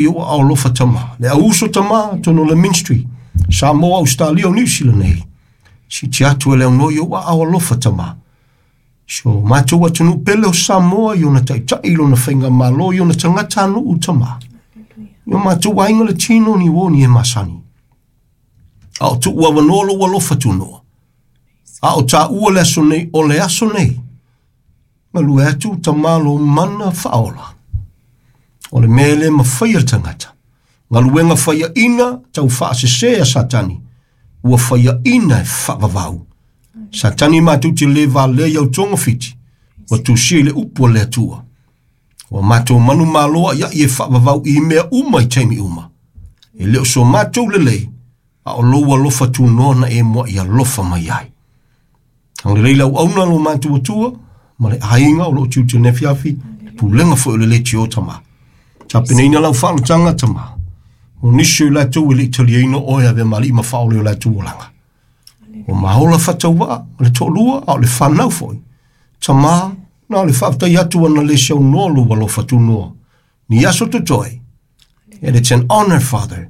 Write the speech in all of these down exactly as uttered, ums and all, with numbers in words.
I ou aao alofa Tama, le au uso Tama, totonu o le ministry, Samoa, Ausetalia, o Niu Sila nei. Siiti atu e le aunoa i ou aao alofa Tama. Si o matou atunuu pele o Samoa i ona taitai, i lona faigamalo, i ona tagatanuu Tama. I o matou aiga le tino ni uo ni e masani. A o tuu avanoa lou alofa tunoa. A o taua le aso nei, o le aso nei. Galue atu Tama lou mana faaola. O le mea le mafai e le tagata. Galuega faiaina tau faasese a Satani. Ua faiaina e faavavau. Satani matou te le valea i au togafiti. Ua tusia i le upu a le Atua. Ua matou manumalo ia e faavavau i mea uma i taimi uma. E le o so matou lelei, a o lou alofa tunoa na e muai alofa mai ai. Agalelei lau auauna lo matou Atua, ma le aiga o loo tiute nei afiafi, le pulega foi o le leitio Tama. Tapenaina lau faaolataga Tama. O nisi o i latou e le i taliaina oe avea ma alii ma faaola i o latou olaga. O maola faatauvaa, o le toalua, a o le fanau foi. Tama, na o le faafetai atu ana le saunoa lou alofa tunoa. Ni aso totoe. And it's an honor, Father.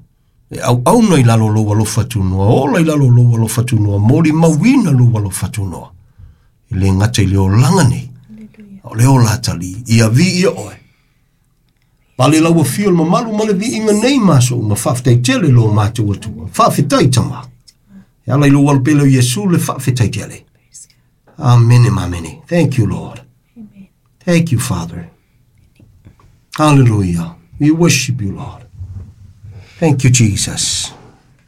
E auauna i lalo o lou alofa tunoa, ola i lalo o lou alofa tunoa, molimauina lou alofa tunoa. E le gata i le olaga nei, a o le ola atalii, ia viia oe. Pale lau afio le mamalu ma le viiga nei ma aso uma, faafetai tele lo matou Atua. Faafetai Tama. E ala i lou alo pele o Iesu le faafetai tele. Amene ma amene. Thank you, Lord. Thank you, Father. Hallelujah. We worship you, Lord. Thank you, Jesus.